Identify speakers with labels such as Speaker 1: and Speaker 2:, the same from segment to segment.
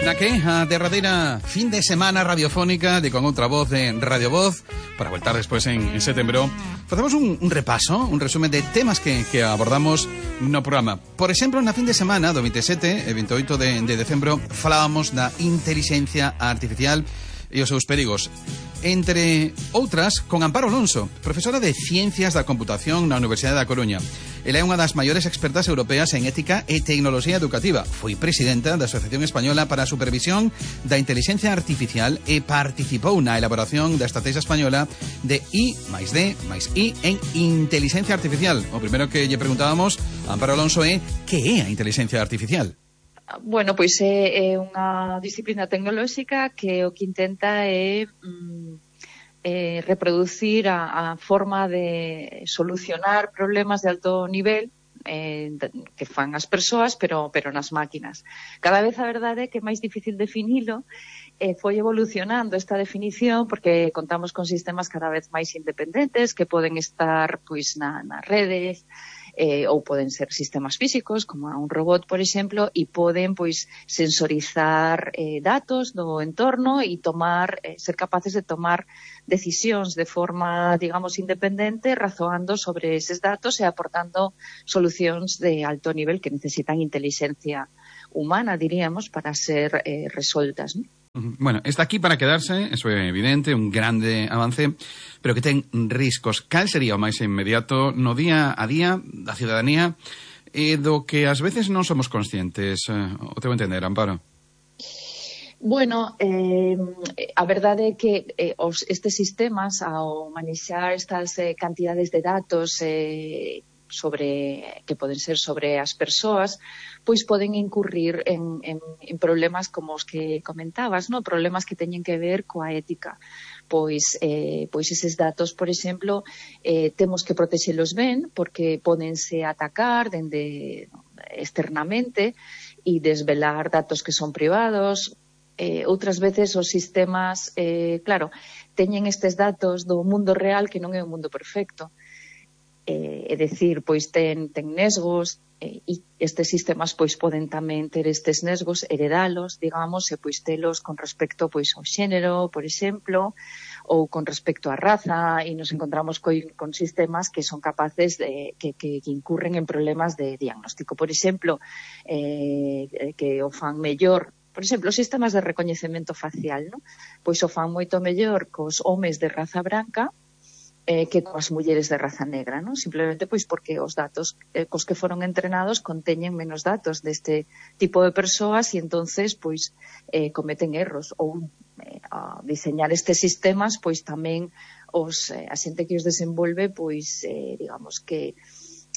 Speaker 1: Na que a derradeira fin de semana radiofónica de Con Outra Voz de Radio Voz, para voltar despois en setembro, facemos un repaso, un resumen de temas que abordamos no programa. Por exemplo, na fin de semana do 27 e 28 de decembro falábamos da inteligencia artificial e os seus perigos. Entre outras, con Amparo Alonso, profesora de Ciencias da Computación na Universidade da Coruña. Ela é unha das maiores expertas europeas en ética e tecnoloxía educativa. Foi presidenta da Asociación Española para a Supervisión da Inteligencia Artificial e participou na elaboración da estrategia española de I+D+I en inteligencia artificial. O primeiro que lle preguntábamos a Amparo Alonso é que é a inteligencia artificial?
Speaker 2: Bueno, pois é unha disciplina tecnolóxica que o que intenta é reproducir a forma de solucionar problemas de alto nivel que fan as persoas, pero nas máquinas. Cada vez a verdade é que é máis difícil definilo, foi evolucionando esta definición porque contamos con sistemas cada vez máis independentes que poden estar pois nas redes, ou poden ser sistemas físicos, como un robot, por exemplo, e poden pois sensorizar datos do entorno e ser capaces de tomar decisións de forma, digamos, independente, razoando sobre eses datos e aportando solucións de alto nivel que necesitan inteligencia humana, diríamos, para ser resoltas, ¿no?
Speaker 1: Bueno, está aquí para quedarse, eso é evidente, un grande avance, pero que ten riscos. Cal sería o máis inmediato no día a día da ciudadanía e do que ás veces non somos conscientes? O teu entender, Amparo?
Speaker 2: Bueno, a verdade é que estes sistemas, ao manexar estas cantidades de datos que poden ser sobre as persoas, pois poden incurrir en problemas como os que comentabas, ¿no? Problemas que teñen que ver coa ética. Pois eses datos, por exemplo, temos que protexelos ben, porque pódense atacar externamente e desvelar datos que son privados. Outras veces os sistemas, claro, teñen estes datos do mundo real que non é un mundo perfecto. É dicir, pois ten nesgos e estes sistemas pois poden tamén ter estes nesgos, heredalos, digamos, e pois telos con respecto pois ao xénero, por exemplo, ou con respecto á raza, e nos encontramos con sistemas que son capaces que incurren en problemas de diagnóstico, por exemplo, que o fan mellor. Por exemplo, os sistemas de recoñecemento facial, ¿no? Pois o fan moito mellor cos homes de raza branca que coas mulleres de raza negra, ¿no? Simplemente pois porque os datos cos que foron entrenados conteñen menos datos deste tipo de persoas e entonces pois cometen erros ou a diseñar estes sistemas pois tamén a xente que os desenvolve pois digamos que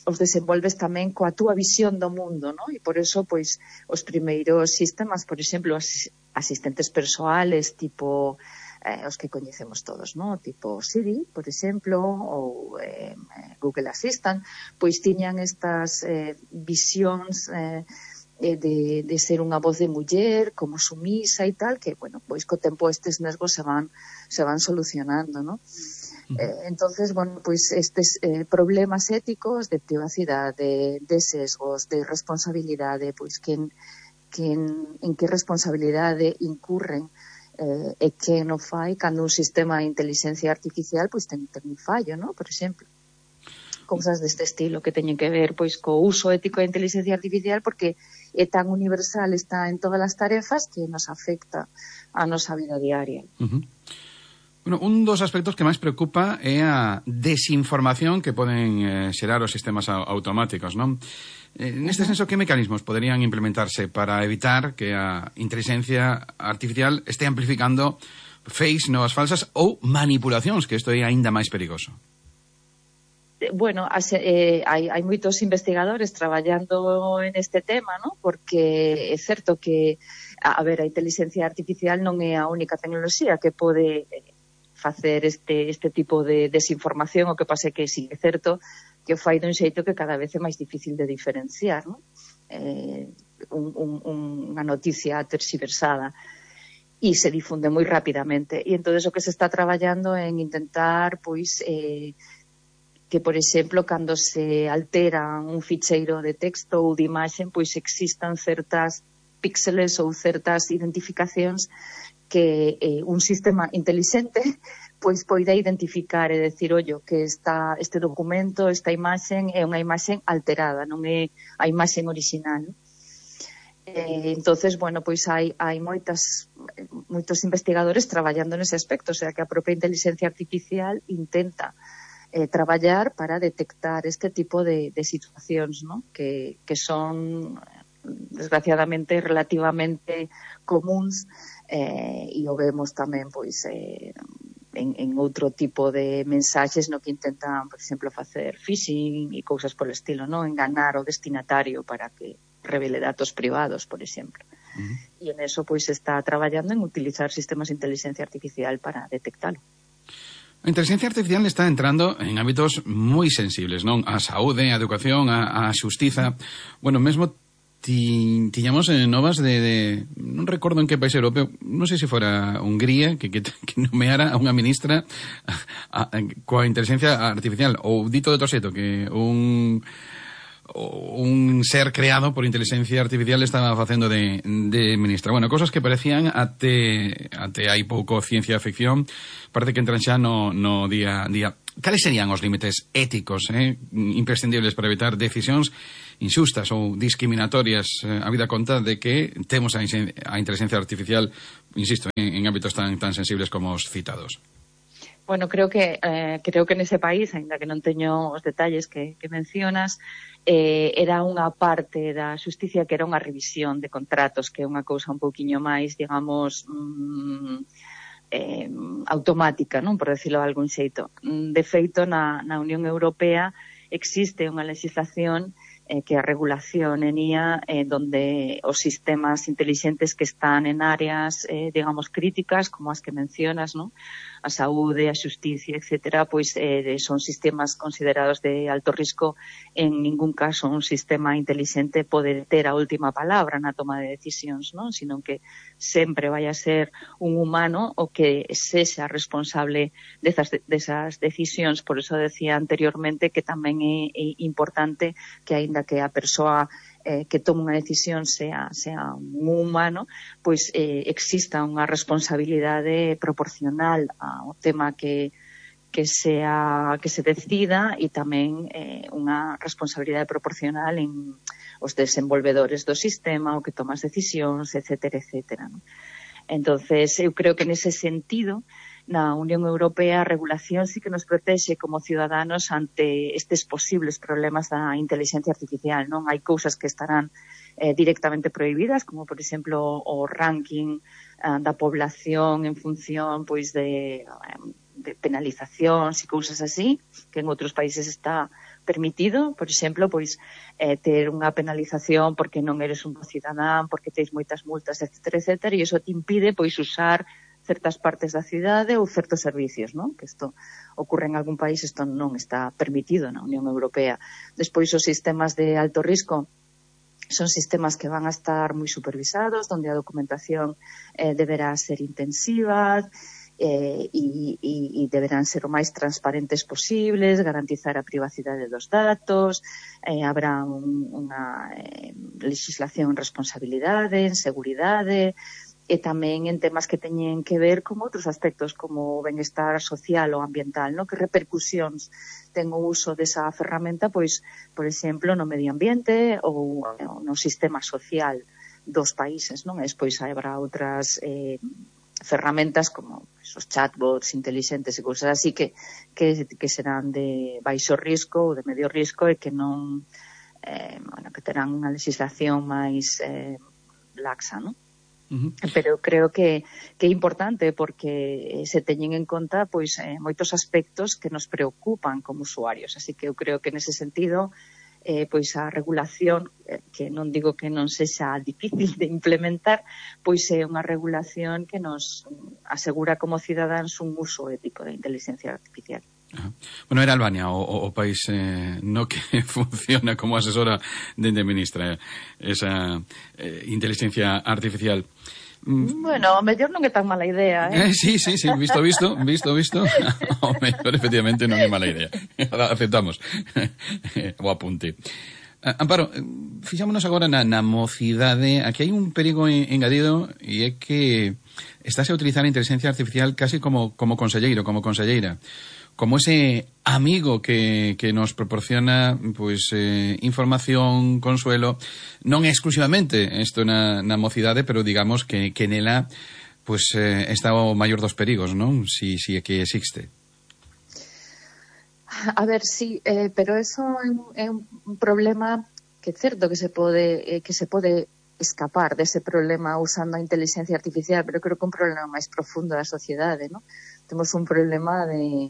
Speaker 2: os desenvolves tamén coa túa visión do mundo, ¿no? E por eso pois os primeiros sistemas, por exemplo, asistentes persoales tipo os que coñecemos todos, ¿no? Tipo Siri, por exemplo, ou Google Assistant, pois tiñan estas visións de ser unha voz de muller, como sumisa e tal, que, bueno, pois co tempo estes nesgos se van solucionando, ¿no? Entonces, bueno, pois estes problemas éticos de privacidade, de sesgos, de responsabilidade, pois en que responsabilidade incurren e que non fai cando un sistema de inteligencia artificial pois ten un fallo, ¿no? Por exemplo, cousas deste estilo que teñen que ver pois co uso ético da inteligencia artificial porque é tan universal, está en todas as tarefas que nos afecta a nosa vida diaria.
Speaker 1: Bueno, un dos aspectos que máis preocupa é a desinformación que poden xerar os sistemas automáticos, non? Neste senso, que mecanismos poderían implementarse para evitar que a inteligencia artificial este amplificando fakes, novas falsas ou manipulacións, que isto é aínda máis perigoso?
Speaker 2: Bueno, hai moitos investigadores traballando en este tema, ¿no? Porque é certo que, a inteligencia artificial non é a única tecnoloxía que pode facer este tipo de desinformación, o que pasa é que sí é certo que o fai dun xeito que cada vez é máis difícil de diferenciar, ¿no? Unha noticia terxiversada e se difunde moi rapidamente. E entonces o que se está traballando en intentar, pois, que, por exemplo, cando se altera un ficheiro de texto ou de imaxen, pois existan certas píxeles ou certas identificacións que un sistema inteligente pois poida identificar e decir, ollo, que este documento, esta imaxen é unha imaxen alterada, non é a imaxen original. Entonces, bueno, pois hai moitos investigadores traballando nese aspecto, o sea, que a propia inteligencia artificial intenta traballar para detectar este tipo de situacións, ¿no? que son, desgraciadamente, relativamente comuns, e o vemos tamén, pois, en outro tipo de mensaxes no que intentan, por exemplo, facer phishing e cousas polo estilo, ¿no? Enganar o destinatario para que revele datos privados, por exemplo. E en eso pois está traballando en utilizar sistemas de inteligencia artificial para detectalo.
Speaker 1: A inteligencia artificial está entrando en ámbitos moi sensibles, non? A saúde, a educación, a xustiza. Bueno, mesmo tiñamos novas de non recordo en que país europeo, non sei se fora Hungría, que nomeara a unha ministra coa inteligencia artificial, ou dito de outro xeito, que un ser creado por inteligencia artificial estaba facendo de ministra. Bueno, cosas que parecían até hai pouco ciencia ficción, parece que entran xa no día a día. Cales serían os límites éticos imprescindibles para evitar decisións inxustas ou discriminatorias a vida conta de que temos a inteligencia artificial, insisto, en ámbitos tan sensibles como os citados?
Speaker 2: Bueno, creo que nese país, aínda que non teño os detalles que mencionas, era unha parte da xusticia que era unha revisión de contratos, que é unha cousa un pouquiño máis, digamos, automática, non, por decirlo de algún xeito. De feito, na Unión Europea existe unha legislación que a regulación en IA, donde os sistemas inteligentes que están en áreas, digamos, críticas, como as que mencionas, ¿no? A saúde, a xusticia, etcétera, pois son sistemas considerados de alto risco. En ningún caso un sistema inteligente pode ter a última palabra na toma de decisións, non? Sino que sempre vai a ser un humano o que sexa responsable desas decisións. Por eso decía anteriormente que tamén é importante que, aínda que a persoa que tome unha decisión sea un humano, pois exista unha responsabilidade proporcional ao tema que se decida, e tamén unha responsabilidade proporcional en os desenvolvedores do sistema, o que toma as decisións, etcétera, etcétera, ¿no? Entonces, eu creo que nese sentido, na Unión Europea a regulación sí que nos protexe como ciudadanos ante estes posibles problemas da inteligencia artificial, non? Hai cousas que estarán directamente prohibidas, como por exemplo o ranking da población en función pois de penalizacións e cousas así, que en outros países está permitido, por exemplo, pois ter unha penalización porque non eres un bo cidadán, porque tens moitas multas, etcétera, etcétera, e iso te impide pois usar certas partes da cidade ou certos servicios, non? Que isto ocorre en algún país, isto non está permitido na Unión Europea. Despois, os sistemas de alto risco son sistemas que van a estar moi supervisados, onde a documentación deberá ser intensiva e deberán ser o máis transparentes posibles, garantizar a privacidade dos datos, habrá unha legislación en responsabilidade, en seguridade, e tamén en temas que teñen que ver con outros aspectos como o benestar social ou ambiental, no? Que repercusións ten o uso desa ferramenta, pois, por exemplo, no medio ambiente ou no sistema social dos países, non? E despois habrá outras ferramentas como os chatbots inteligentes e cousas así que serán de baixo risco ou de medio risco e que non que terán unha legislación máis laxa, non? Pero creo que é importante porque se teñen en conta pois moitos aspectos que nos preocupan como usuarios, así que eu creo que nese sentido pois a regulación, que non digo que non sexa difícil de implementar, pois é unha regulación que nos asegura como cidadáns un uso ético da inteligencia artificial.
Speaker 1: Bueno, era Albania o país no que funciona como asesora de ministra esa inteligencia artificial.
Speaker 2: Bueno, o mellor non é tan mala idea,
Speaker 1: Sí, visto. O mellor, efectivamente, non é mala idea. Aceptamos o apunte. Amparo, fixámonos agora na mocidade. Aquí hai un perigo engadido e é que estáse a utilizar a inteligencia artificial casi como conselleiro, como conselleira, como ese amigo que nos proporciona pois información, consuelo, non exclusivamente isto na mocidade, pero digamos que nela pois está o maior dos perigos, non? Si é que existe.
Speaker 2: A ver, sí, pero eso é un problema que é certo que se pode escapar dese problema usando a inteligencia artificial, pero creo que un problema máis profundo da sociedade, ¿no? Temos un problema de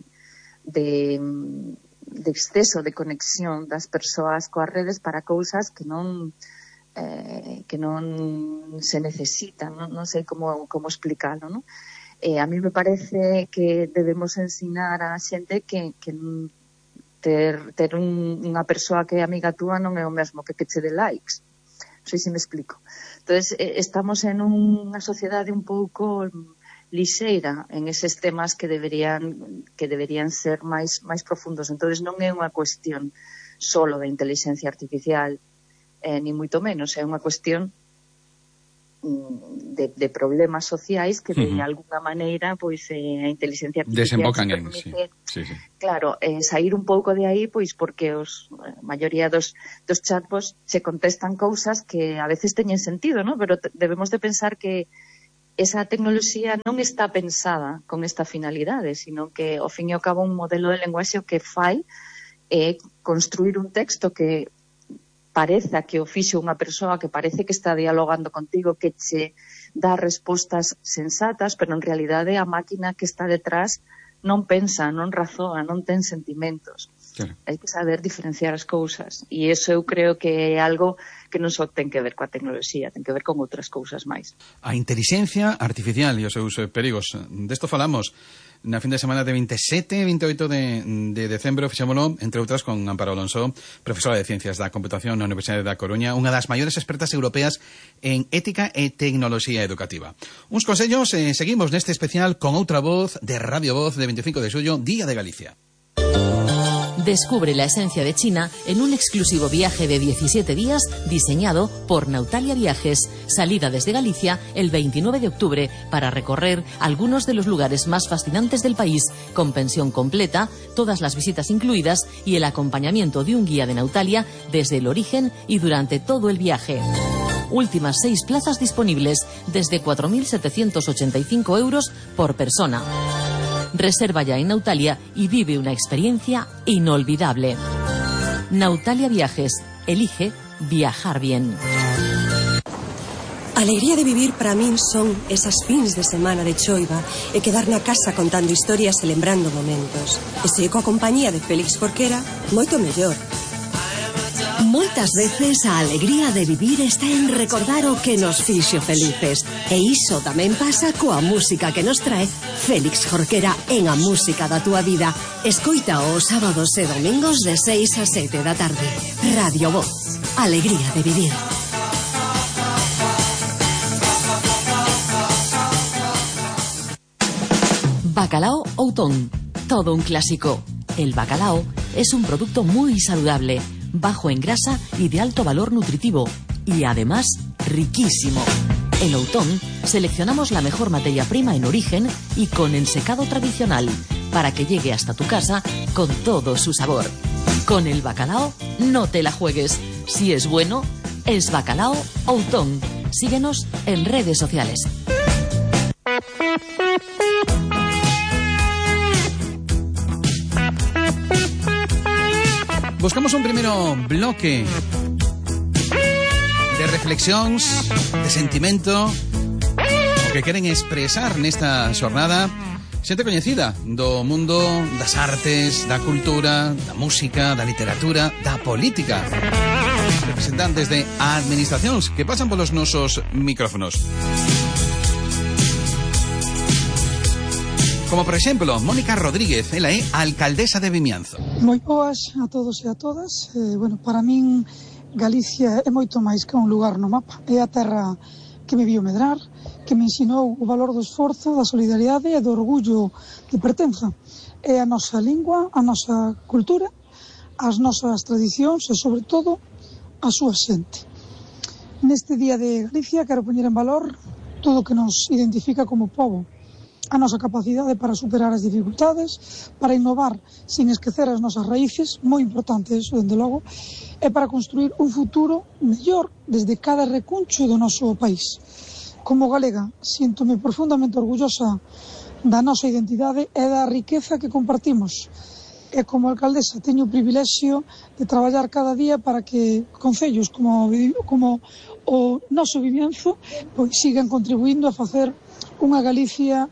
Speaker 2: exceso de conexión das persoas coas redes para cousas que non se necesitan, non sei como explicalo, non? A mí me parece que debemos ensinar a xente que ter unha persoa que é amiga túa non é o mesmo que che dé likes. Non sei se me explico. Entonces, estamos en unha sociedade un pouco lixeira en eses temas que deberían ser máis profundos. Entonces, non é unha cuestión solo de inteligencia artificial, ni moito menos, é unha cuestión de problemas sociais que de alguna maneira pois a inteligencia artificial
Speaker 1: desembocan en sí.
Speaker 2: Claro, sair un pouco de aí pois porque a maioría dos chatbots se contestan cousas que a veces teñen sentido, ¿no? Pero debemos de pensar que esa tecnoloxía non está pensada con esta finalidade, sino que ao fin e ao cabo un modelo de lenguaxe o que fai é construir un texto que pareza que o fixo unha persoa que parece que está dialogando contigo, que che dá respostas sensatas, pero en realidade a máquina que está detrás non pensa, non razoa, non ten sentimentos. Claro. Hai que saber diferenciar as cousas. E iso eu creo que é algo que non só ten que ver coa tecnoloxía, ten que ver con outras cousas máis.
Speaker 1: A inteligencia artificial e os seus perigos. Desto falamos na fin de semana de 27 e 28 de decembro, fixémolo, entre outras, con Amparo Alonso, profesora de Ciencias da Computación na Universidade da Coruña, unha das maiores expertas europeas en ética e tecnoloxía educativa. Uns consellos, seguimos neste especial con outra voz de Radio Voz de 25 de xullo, Día de Galicia.
Speaker 3: Descubre la esencia de China en un exclusivo viaje de 17 días diseñado por Nautalia Viajes. Salida desde Galicia el 29 de octubre para recorrer algunos de los lugares más fascinantes del país, con pensión completa, todas las visitas incluidas y el acompañamiento de un guía de Nautalia desde el origen y durante todo el viaje. Últimas 6 plazas disponibles desde 4.785 euros por persona. Reserva ya en Nautalia y vive una experiencia inolvidable. Nautalia Viajes. Elige viajar bien.
Speaker 4: Alegría de vivir para min son esas fins de semana de choiva e quedar na casa contando historias e lembrando momentos. E se coa compañía de Félix Jorquera, moito mellor.
Speaker 5: Moitas veces a alegría de vivir está en recordar o que nos fixo felices. E iso tamén pasa coa música que nos trae Félix Jorquera en A Música da Túa Vida. Escoita os sábados e domingos de 6 a 7 da tarde. Radio Voz. Alegría de vivir.
Speaker 3: Bacalao Outón. Todo un clásico. El bacalao es un producto muy saludable, bajo en grasa y de alto valor nutritivo, y además riquísimo. En Outón seleccionamos la mejor materia prima en origen y con el secado tradicional, para que llegue hasta tu casa con todo su sabor. Con el bacalao no te la juegues. Si es bueno, es Bacalao Outón. Síguenos en redes sociales.
Speaker 1: Buscamos un primeiro bloque de reflexións, de sentimento, o que queren expresar nesta xornada xente coñecida do mundo das artes, da cultura, da música, da literatura, da política. Representantes de administracións que pasan polos nosos micrófonos. Como, por exemplo, Mónica Rodríguez, ela é alcaldesa de Vimianzo.
Speaker 6: Moi boas a todos e a todas. Para min, Galicia é moito máis que un lugar no mapa. É a terra que me viu medrar, que me ensinou o valor do esforzo, da solidariedade e do orgullo de pertenza. É a nosa lingua, a nosa cultura, as nosas tradicións e, sobre todo, a súa xente. Neste Día de Galicia quero poñer en valor todo o que nos identifica como pobo, a nosa capacidade para superar as dificultades, para innovar sin esquecer as nosas raíces, moi importante eso, dende logo, e para construir un futuro mellor desde cada recuncho do noso país. Como galega, síntome profundamente orgullosa da nosa identidade e da riqueza que compartimos. E como alcaldesa teño o privilexio de traballar cada día para que concellos como o noso Vimianzo pois sigan contribuindo a facer unha Galicia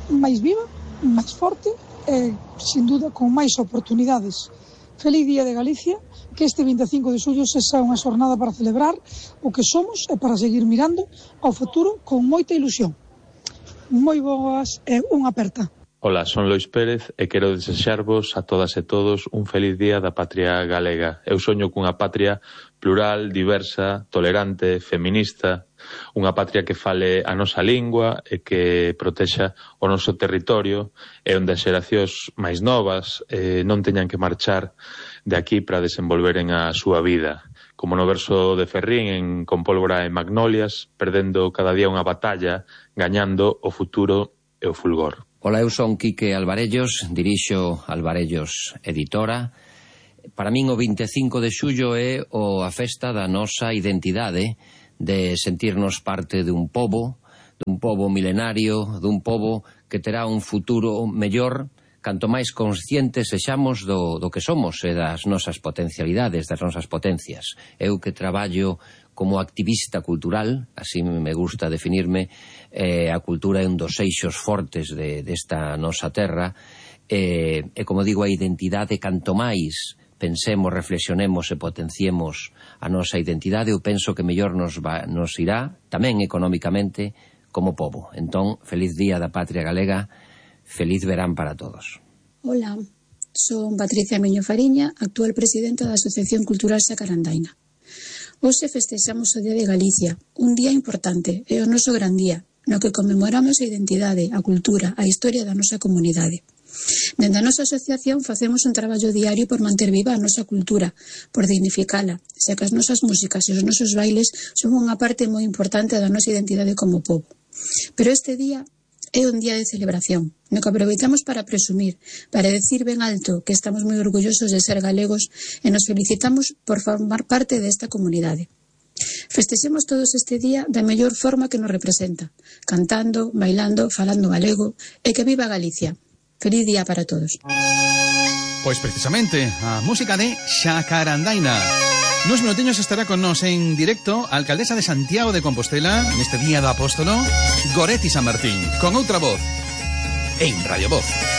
Speaker 6: máis viva, máis forte e, sin duda, con máis oportunidades. Feliz Día de Galicia, que este 25 de xullo sexa unha xornada para celebrar o que somos e para seguir mirando ao futuro con moita ilusión. Moi boas e unha aperta.
Speaker 7: Ola, son Lois Pérez e quero desexarvos a todas e todos un feliz día da patria galega. Eu soño cunha patria plural, diversa, tolerante, feminista, unha patria que fale a nosa lingua e que protexa o noso territorio e onde as xeracións máis novas non teñan que marchar de aquí para desenvolveren a súa vida. Como no verso de Ferrín en Con pólvora e magnolias, perdendo cada día unha batalla, gañando o futuro e o fulgor.
Speaker 8: Ola, eu son Quique Alvarellos, dirixo Alvarellos Editora. Para min o 25 de xullo é a festa da nosa identidade, de sentirnos parte dun pobo milenario, dun pobo que terá un futuro mellor canto máis conscientes sexamos do que somos e das nosas potencialidades, das nosas potencias. Eu que traballo como activista cultural, así me gusta definirme, a cultura é un dos eixos fortes desta nosa terra, e como digo, a identidade, canto máis pensemos, reflexionemos e potenciemos a nosa identidade, eu penso que mellor nos irá, tamén económicamente, como pobo. Entón, feliz Día da Patria Galega, feliz verán para todos.
Speaker 9: Hola, son Patricia Miño Fariña, actual presidenta da Asociación Cultural Xacarandaina. Hoxe festexamos o Día de Galicia, un día importante, é o noso gran día, no que conmemoramos a identidade, a cultura, a historia da nosa comunidade. Dende a nosa asociación facemos un traballo diario por manter viva a nosa cultura, por dignificala, xa que as nosas músicas e os nosos bailes son unha parte moi importante da nosa identidade como pobo. Pero este día é un día de celebración, no que aproveitamos para presumir, para decir ben alto que estamos moi orgullosos de ser galegos e nos felicitamos por formar parte desta comunidade. Festexemos todos este día da mellor forma que nos representa, cantando, bailando, falando galego, e que viva Galicia. Feliz día para todos.
Speaker 1: Pois precisamente, a música de Xacarandaina. Nos minutiños estará con nos en directo a alcaldesa de Santiago de Compostela neste Día do Apóstolo, Goretti San Martín, con outra voz, en Radio Voz.